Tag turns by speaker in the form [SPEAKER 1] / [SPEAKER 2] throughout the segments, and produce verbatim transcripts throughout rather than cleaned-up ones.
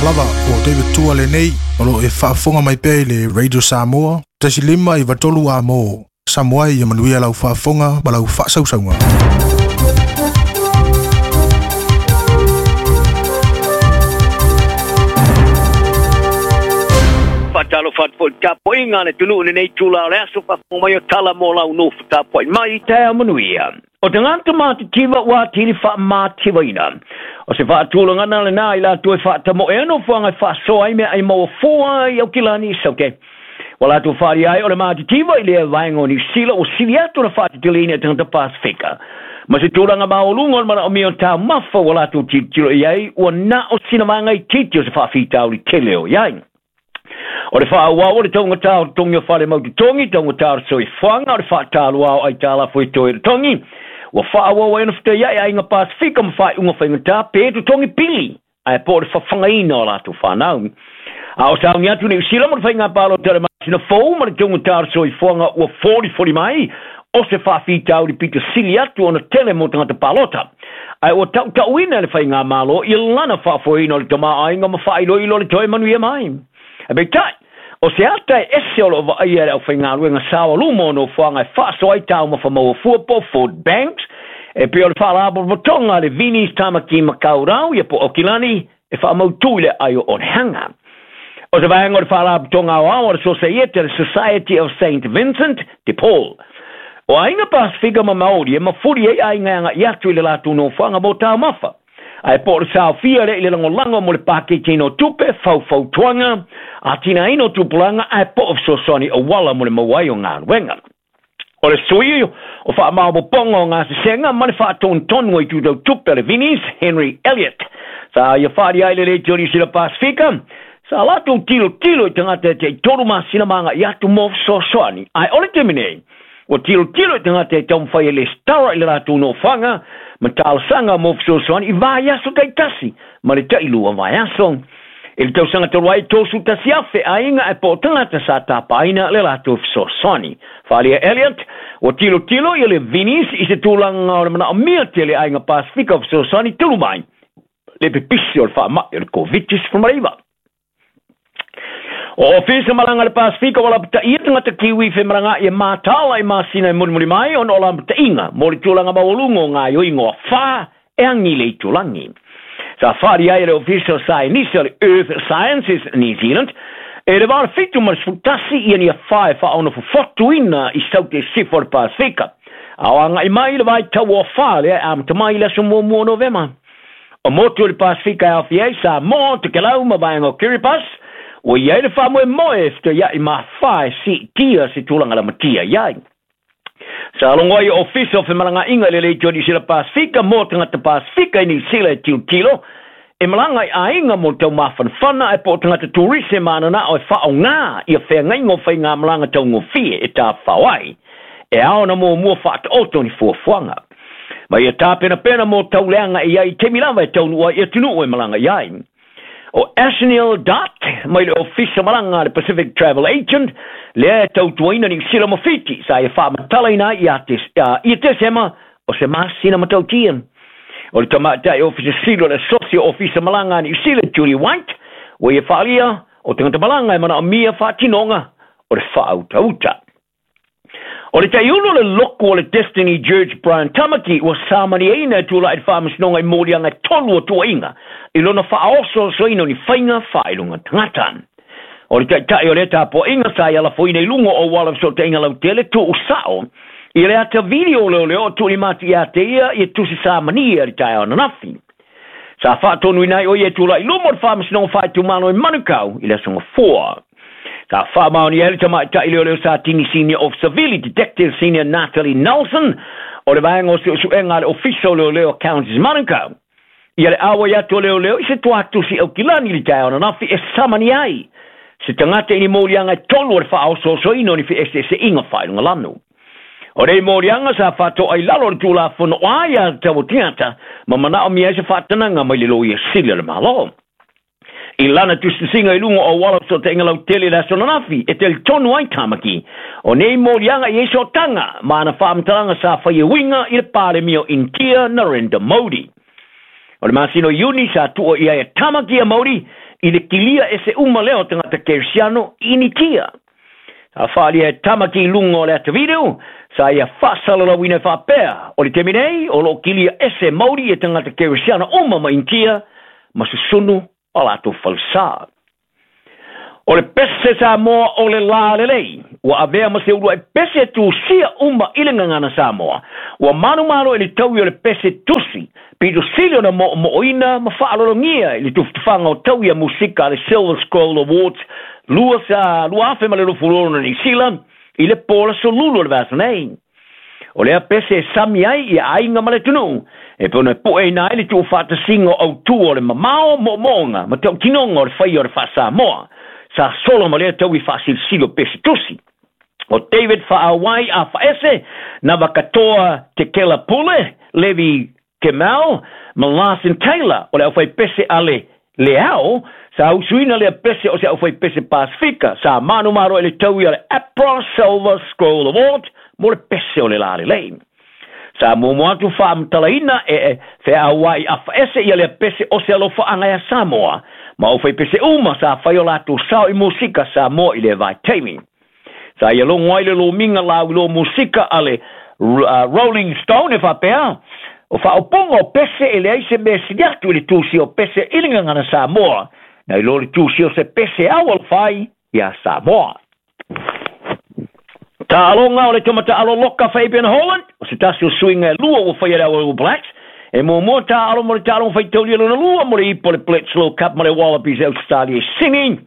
[SPEAKER 1] Lava o David Tua lenei o lo e faafofoga mai pea i le Radio Samoa tasi lima iva tolu a mo Samoa ia manuia lau faafofoga ma lau faasausauga.
[SPEAKER 2] Fatalo fatfo tapoinga le tunu le nei tula le aso fa mai o tala mo lau no tapoi mai te manuia. O te ngata mā te tiva ua tili wha mā tivaina. O se whaatulanga nā le nā i la tue whaata mo e ano fuanga whaasoa i mea ai maua fua i au kilani sauke. Wa la tu whaari ai o le mā te tiva i lea vaenga o Niu Sila o sili atu na whaatetele ina tangata Pasifika. Ma se tūranga maolunga o le mana o mea o tā mafa wa la tu titilo i ai ua nā o sina maanga i titi o se whaafitau li tele o iai. O le whaawau o le taunga tā o tongi o whare mau te tongi, taunga tā o soifuanga o le whaatālua o ai tā la fui toi le tongi. Ua whaawau ai na whita iai ai ngā Pasifika ma whai unga whainga tā pē tu tongi pili. Ai po le whawhangaina o lātou whanau. A o saungi atu ni usila mo le whainga pālo te le masina fou ma le taunga tā o soifuanga ua forty forty mai o se whaafitau li pita sili atu ona tele mo tangata palota. Ai o tau tauina le whainga malo i lana whaafoina o le tama ainga ma whailo ilo le toi manuia mai. A peitai, o se ata e ese o lo vaai le au whaingaluenga sawa lumo no fuanga e whaaso ai tau mawhamaua fuapo Food Banks, e peo le whaalapotopotoga le Vinis Tamaki Makaurau ia po Okilani e whaamautu i le aio o hanga. O se vaenga o le whaalapotoga o ao o le Society, le Society of Saint Vincent de Paul. O ainga Pasifika ma Maori e mafuri ai ainga anga i atu i le lātou no fuanga mō tau mafa. Ai po le saofia le i le langolango mo le pāketi no tupe, faufautuanga, a tina ino tupulanga, ai po o sosoni o wala mo le mauai o ngā ruenga. O le sui o wha maopoponga o ngā sesenga, ma le whaatontonu i tūtau tupe le Vinis, Henry Elliott. Sa ia whaari ai le le te ori sila Pasifika, sa lātou tilo tilo i tangata te i toru masina manga i atu mō sosoani. Ai ole te minei, o tilo tilo i tangata e taumwhai e le stara i le rātou no whanga, ma tālasanga mō fesoasoani i vaiaso taitasi, ma le tailua vaiaso. I le tausaga talu ai tōsu tasi afe aiga e po tangata sa tapaina le latou fesoasoani. Whalia Elliot, o tilo tilo i le Vinis i se tūlanga o le manaomia tele aiga Pasifika o fesoasoani tulu mai. Le pipisi o le whaamai o le COVID sefulumareiva. O ofisa malanga le Pasifika wala pata ia tangata kiwi whe maranga i mātala i māsina e murimuri mai ona o la pata inga mō le tūlanga maualunga o ngā ioingo a whā e angi le itulangi. Sa whaari ai le ofisa o Scienisa o le Earth Sciences New Zealand e le wara fitu ma le sfutasi ia ni a whā e whaona fufotuina i saute sifo o le Pasifika. A o anga i mai le vai tau o whā le a amata mai le aso muamua Novema. O motu o le Pasifika e awhi ai sa mō te kelau ma vaenga o Kiribati. O ia le whamoe moe whita ia i mā whae si tia se tūlanga la matia iai. Sa longo ai ofisa o whemalanga inga le le tō Sila Pasifika mō tangata Pasifika i Niu Sila e tilo e malanga i ainga mō tau māwhanwhana e po tangata turise mānana o e whao ngā i a whea ngaingo whai ngā malanga tau ngofie e tā whawai. E ao na mō mua whaata o tōni fuafuanga. Ma ia tā pena pena mō tau leanga i ai temi lava e tau nua i a tunu e malanga i ai. O Ashnil Dot, mai le ofisa malanga le Pacific Travel Agent, le tautuaina ni sila mawhiti, sa e whaamatala ina i a te sema o se masina matautia. O le tamata e ofisa silo le socio ofisa malanga ni sila Julie White, o ia whaalia o tangata malanga e mana o mia whaatinonga o le whaautauta. O le taiulo le loko o le Destiny Judge Brian Tamaki ua samani eina e tūla i whaamasinonga i mōrianga e tolu o tuainga i lona whaoso soina o ni whainga whailunga tangata. O le taitai o le tāpoinga sa i ala foina i lungo o wala so te inga lau tele tu usao i le ata video leo leo o tuli mati ia te ia i tusi samani e tai o nanafi. Sa whaatonu inai o ia tūla i lumo o le whaamasinonga whaitumano i Manukau i le songa four. Ka whaamaoni ele tamaitai leo leo sa tini senior officer Vili, Detective Senior Natalie Nelson, o le vaenga o suesuenga le ofisa o leo leo Counties Manukau. Ia le awa i atu o leo leo i se tuatusi au kilani li tai ona nafi e samani ai. Se tangata ini mōrianga e tolu o le whaososoino ni fi ese ese inga whailunga lanu. O rei mōrianga sa whatoa i lalo le tūlafono ai a te tau tingata, ma manao mia se whaatananga mai le loia sili o le malo. I lana tusinga i lunga o wala so te ingalau tele la sonanafi e te tonu ai Tamaki. O nei mōrianga i eso tanga, maana whaamataranga sa whai winga i le pāle mio Intia Narendra Modi. O le masino Iuni sa tua ia e Tamaki a Modi I le kilia e se uma leo tagata kerisiano initia. Sa whaalia e tamaki lunga o le ata video, sa ia whaasalalauina e whaapea. O le temi nei, o lo kilia ese mauri e tagata kerisiano uma ma initia, ma susunu o latou falsa. O le pese Samoa o le la lelei. Ua avea ma se ulua e pese tusia uma i le ngangana Samoa. Ua manu manu e le taui o le pese tusi. Pito sili ona mo mooina ma whaalolongia i le tufutufanga o taui a musika le Silver Scroll Awards lua sa lua afe ma le lufulono ni sila i le pola solulu o le vasa nei. O lea pese e sami ai i ainga ma le tunu. E pona poe na ele tu whaatasinga au tu o le mamao mo moonga ma tau tinonga o le whai o le wha Samoa. Sa solo ma lea tau i whaasilisilo pese tusi. O David Whaawai a Whaese, na wakatoa te Kela Pule, Levi Kemal, ma Larson Taylor, o le au whai pese ale leao, sa usuina lea pese o se au whai pese Pasifika, sa manu maro ele tau i ale Apra Silver Scroll Award, mo le pese o le lale lei. Sa mumu atu whaamtalaina e e wheawai a Whaese i ale pese o se alofa anga ia Samoa. Ma o whai pese uma sa whai o lātou sao i musika Samoa i le vai taimi. Sa ia longo ai le lo minga lau lo musika ale uh, Rolling Stone e whapea. O whaoponga o pese e leai se mea siniatu i le tūsi o pese i le ngangana Samoa. Na i lo le tūsi o se pese au alwhai ia Samoa. Ta'alonga o le tomata alo loka Fabian Holland, o se tasi o suinga e lua o whai ale All Blacks, e mua mua ta'alo mo le ta'alonga whai tauli lona lua mo le ipo le Bledisloe Cup mo le Wallabies Australia singing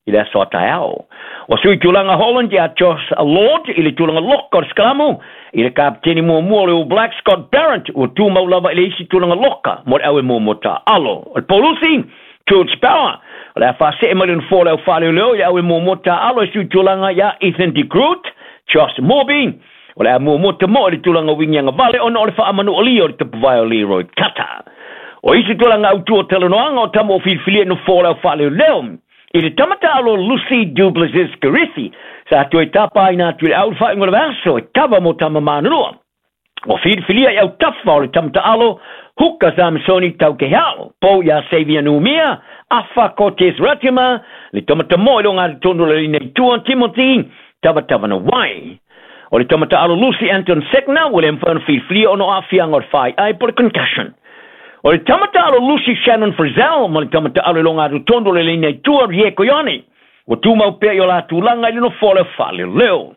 [SPEAKER 2] i le aso ataiao. O sui tulaga Holland ia Josh Lord i le tulaga loka o le skramu, i le kapteni mua mua o le All Blacks Scott Barrett ua tumau lava i le isi tulaga loka mo le au e mua mua ta'alo. O le Paulusi, George Power, o le a whaasee mai le nofo le au whaleoleo i le au e mua mua ta'alo e sui tulaga ia Ethan de Groot, Josh Morby, o le a mua mua te mo le tulaga wingianga vale ona o le whaamanu o li o le tapuvae o Leroy Kata. O isi tulaga au tua talanoaga o tama o filifilia no fo le au whaleoleo. I le tamata alo Lucy Duplessis Garithi, sa atu e tapa ina atu le au whaingo le vaso e kava mo tama manunua. O filifilia i au tawha o le tamata alo Huka Samsoni Taukehao, po ia Xavier Numia, Afa Cortez Ratima, le tamata mo i lo ngā tono le ina tua Timothy, Tawa na wai. O le tamata alo Lucy Anton Sekna, o le mwhana filifilia ono awhianga o le whai ai po le concussion. O le tamata alo Lucy Shannon Frizzell, ma le tamata alo longa atu tondo le lina i tua Rieko Ione. O tūmau pea i o la tūlanga i le nofo le whale leo.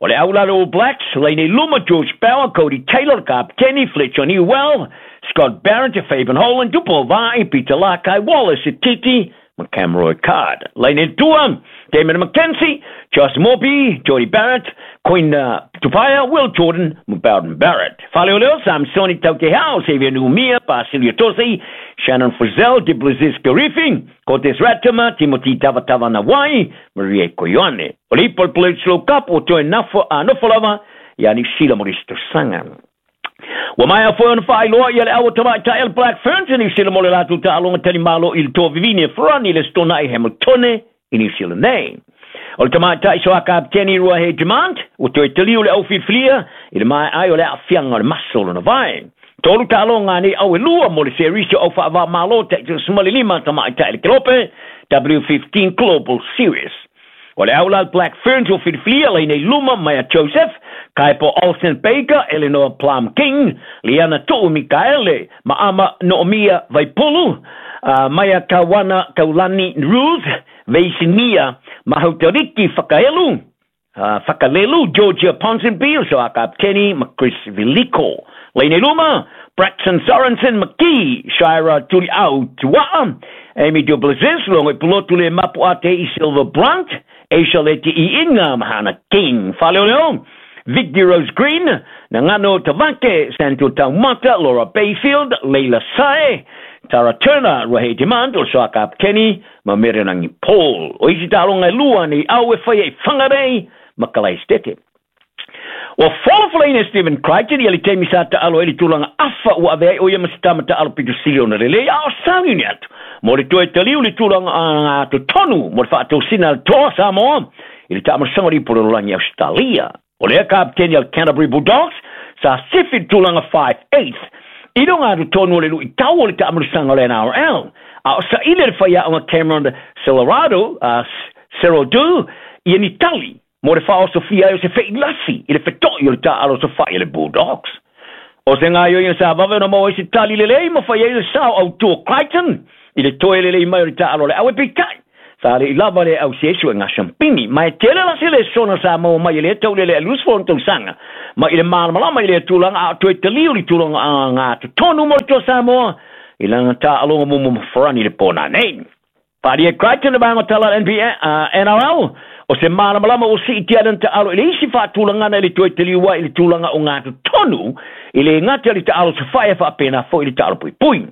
[SPEAKER 2] O le aulalo All Blacks, leine luma George Bauer, Cody Taylor, Kapteni, Fletcher Newell, Scott Barrett, Fabian Holland, Tupou Vaa'i, Peter Lakai, Wallace Titi, Cameroy Card. Leine tua, Damon McKenzie, Josh Morby, Jody Barrett, Queen uh, Tupaia, Will Jordan, Bowden Barrett. Faleoleo, Samsoni Taukehau, Xavier Numia, Basilio Tosi, Shannon Frizzell, Duplessis Garifi, Cortez Ratima, Timothy Tavatava Nawai, Maria Koyone. O le Bledisloe Cup, o toe nafo a nofolava, ia ni sila moristo sanga. Ua mai foi ona faailoa ia le au tamaitai el Black Ferns i New Zealand mo le latou taaloga talimalo i le toa vivini e farani le stona i Hamiltone i New Zealand nei. O le tamaitai so a kapteni Ruahei Demant, ua toe taliu le au filifilia i le mai ai o le aafiaga o le maso lona vae. Tolu taaloga nei au e lua mo le series o au faavāmālō taʻitalasima tamaitai le kelope W fifteen Global Series. O le aula Black Ferns o filifilia leinei luma Maya Joseph, Kaipo Olsen Baker, Eleanor Plum King, Liana Tu'u Mikaele, Maama Noomia Vaipulu, uh, Maya Kawana Kaulani Ruth, Veisinia Mahautariki Whakaelu, uh, Whakalelu, Georgia Ponsonby, so a kapteni Chris Viliko. Leine luma, Braxton Sorensen McKee, Shira Tuliau Tua'a, Amy Duplessis, longo i pulotu le mapu a te i Silver Brunt, Aisha Leti i Inga, Mahana King. Faleoleo, Victor Rose Green, Nangano Tavake, Santo Taumata, Laura Bayfield, Leila Sae, Tara Turner, Ruahei Demant, o soa kapteni, ma Merenangi Paul. O isi talonga lua ni au e whai e whangarei, ma kalai stete. Ua folafolaina Stephen Crichton ia le taimi sa taalo ai le tulaga afa ua avea ai o ia ma se tama taalo pito sili ona lelei a o sauni ni atu mo le toe taliu le tulaga agatotonu mo le faatosina le toa Samoa i le taamalosaga o le ipu lalolagi Australia. O lea kapteni al Canterbury Bulldogs sa sifi le tulaga five eight i luga atotonu o le luitau o le taamalosaga o le N R L. A o saili le faiaoga Cameron Celerado, uh, Cerodu, ia ni tali mo le faaosofia ai o se feilasi i le fetoʻi o le taaalo sofaʻi a le Bulldogs. O se gaioiga sa vave ona maua ai se tali lelei ma fai ai le sao autū o Crichton i le toe lelei mai o le taaalo a le au e peitai. Sa leʻi lava le ausi ai suega siampini. Ma e tele la se lesona sa maua mai e lea taulele a luasefulu ona tausaga. Ma i le malamalama i lea tulaga a o toe taliu le tulaga agatotonu mo le Toa Samoa i lana taaloga muamua ma Farani i le po nanei. Faaalia e Crichton le vaega o tala a le N B A, uh, N R L, o se malamalama ua siitia ai lana taalo i le isi faatulagana i le toe taliu ai i le tulaga o gatotonu i le gata i le taalo safae e faapena foi i le taalo puipui.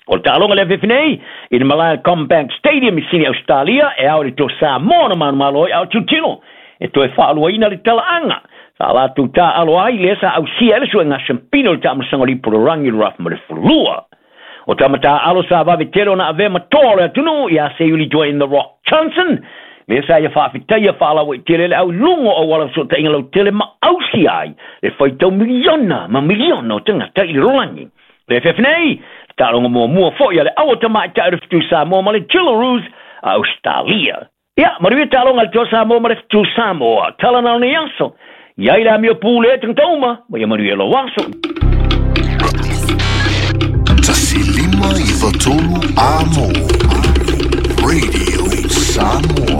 [SPEAKER 2] O le taaloga le afefe nei i le malae CommBank Stadium i Sini Australia e ao i le Toa Samoa na manumalo ai a o tilotilo e toe faaluaina le talaaga sa latou taaalo ai lea sa ausia ai le suega siampina o le taamasaga o le ipu o le rangi o le rafa ma le fulua. O tamataaalo sa vave tele ona avea ma toa o le atunuu ia Seiuli Dwayne The Rock Johnson lea sa ia faafetaia faalauaitele le au i luga o auala fesootaiga lautele ma ausi ai le faitau miliona ma miliona o tagata i le lalolagi. Le afeafe nei, le taaloga muamua foi a le au o tamaitai o le Fetu Samoa ma le Jillaroos a Australia. Ia, manuia taaloga a le Toa Samoa ma le Fetu Samoa. Tala na o nei aso. Ia i le amio pule e tagata uma, ma ia manuia lou aso.
[SPEAKER 3] Tasi lima iwa tolu a mo. Radio Samoa.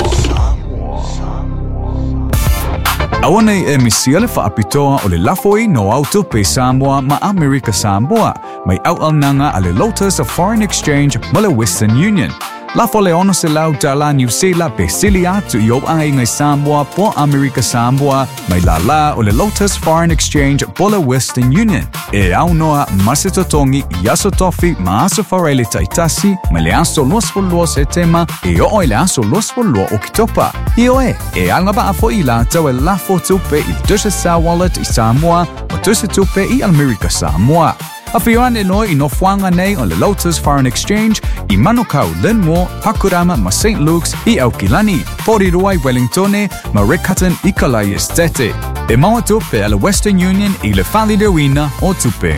[SPEAKER 4] Aua nei e misia le faapitoa o le lafoi no au tupe Samoa ma Amerika Samoa mai auaunaga a le Lotus of Foreign Exchange ma le Western Union. Lafo le ono se lau tala New Zealand pe sili atu i o aiga i Samoa po Amerika Samoa mai la la o le Lotus Foreign Exchange po le Western Union. E au noa ma se totongi i aso tofi ma aso farele taitasi mai le aso luasefulu lua Setema e oo i le aso luasefulu lua Oketopa. Ioe, e agavaa foi i latou e lafo tupe i le Digicel Wallet i Samoa ma tusi tupe i Amerika Samoa. Afioane loa i nofoaga nei o le Lotus Foreign Exchange i Manukau, Linmore, Pakurama ma Saint Luke's i Aukilani, Porirua i Wellingtone ma Riccarton i Kalai Estate. E maua tupe a le Western Union i le faaliliuina o tupe.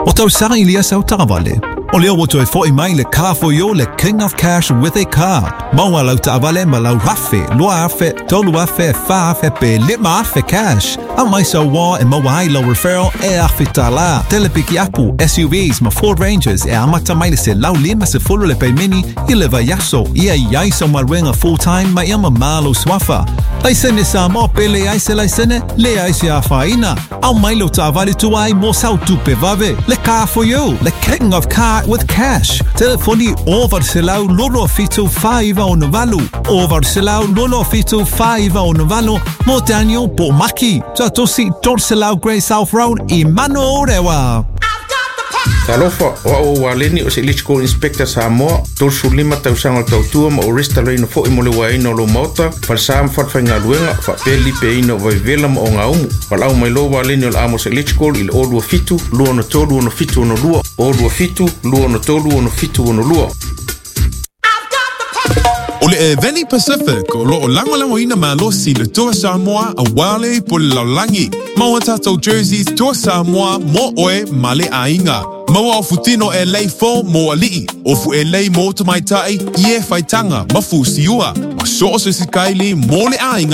[SPEAKER 5] O tausaga i lia sau taavale. O lea ua toe foʻi mai le Car for You, le King of Cash with a Card. Maua lau taavale ma lau afe, lua afe, tolu afe, fa afe pe lima afe cash. Aumai sau uō e maua ai lau referral e afe tālā. Tele pikiapu, S U Vs ma Ford Rangers e amata mai le selau lima sefulu le paimeni i le vaiaso. Ia i ai sau galuega full time ma ia mamā lou suafa. Laisene Samoa pe leai se laisene, leai se afaina. Aumai lou taavale tuai mo sau tupe vave. Le Car for You, le King of Car with Cash. Telefoni o valu selau lolo fitu fa iva ono valu. O valu selau lolo fitu fa iva ono valu. Mo Daniel po Maki. Tatosi tolu selau Great South Road i Manorewa.
[SPEAKER 6] Talofa, o au o Waleni o se Electrical Inspector Samoa, tolu lima tausaga o le tautua ma o restaloina foʻi mo le uaina o lou maota, falesa ma falefaigaluega, faapea lipeaina o vaivela ma ogaumu. Valaau mai loa Waleni o le Amos Electrical i le o lua fitu, lua ono tolu ono fitu ono lua, o lua fitu, lua ono tolu ono fitu ono lua.
[SPEAKER 7] O le Eveni Pacific o loo lagolagoina malosi le Toa Samoa auā le ipu o le lalolagi. Maua tatou jerseys Toa Samoa mo oe ma le aiga. Maua o futino e lei fo mo alii, o fu e lei mo tamaitai i e faitaga ma fusiua. Ma so o se sikaili mo le aiga.